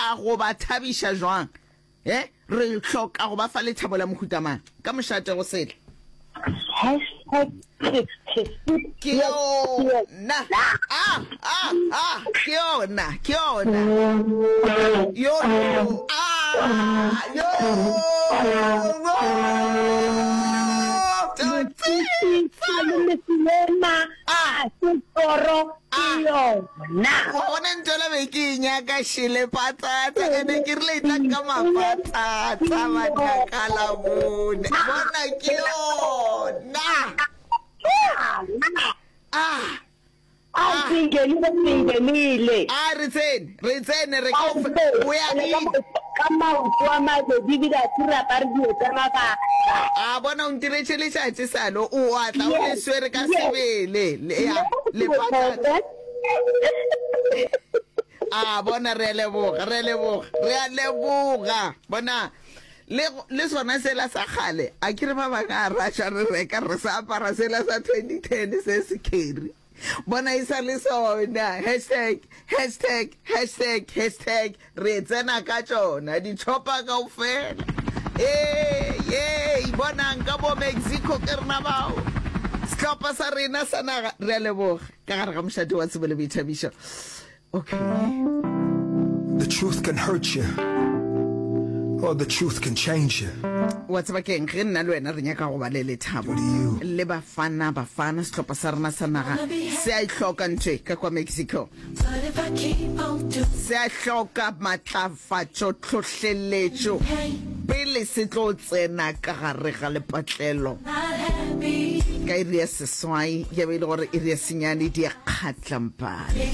hloka go ba thabiša jwang? He, re hloka go ba fa lethabo la mohuta mang? Ka mošate go sele. Hashtag Ke yona. Ah, ah, ah, ke yona, ke yona. Yo, yo, ah, yo, yo. Ah, ke yona. Wa bona ntwela be ke e nyaka šele patsatsa ene ke rile e tla ka mapatsatsa banna la bone. Bona ke yona. Ah. A singenile singenile. A re tsene, re tsene re ka o ya ka maoto a mabedi ebile a se re apare dilo tsa mabaka. A bona o ntiretše letšatši salo o a tla o le swere ka sebele ya le patata. A bona re a leboga re a leboga re a leboga bona le le sona sela sa kgale a ke re ba bangwe a raša re reka re sa apara sela sa 2010 se se carry. Bona e sa le sona. Hashtag, hashtag, hashtag, hashtag, re tsena ka tšona ditšhopa kaofela. Ee, yei, bonang ka bo Mexico ke rena bao. Sehlopha sa rena sa naga, re a leboga ka gare ga mošate wa tsebo le boithabišo. Okay. The truth can hurt you, or the truth can change you. Wa tseba ke'ng? Ge nna le wena re nyaka go ba le lethabo le Bafana Bafana, sehlopha sa rena sa naga se a e hloka ntho e ka kwa Mexico. Se a hloka matlafatšo, tlhohleletšo pele se tlo tsena ka gare ga lepatlelo ka iri ya seswai, ya be e le gore iri ya senyane di a kgatlampana.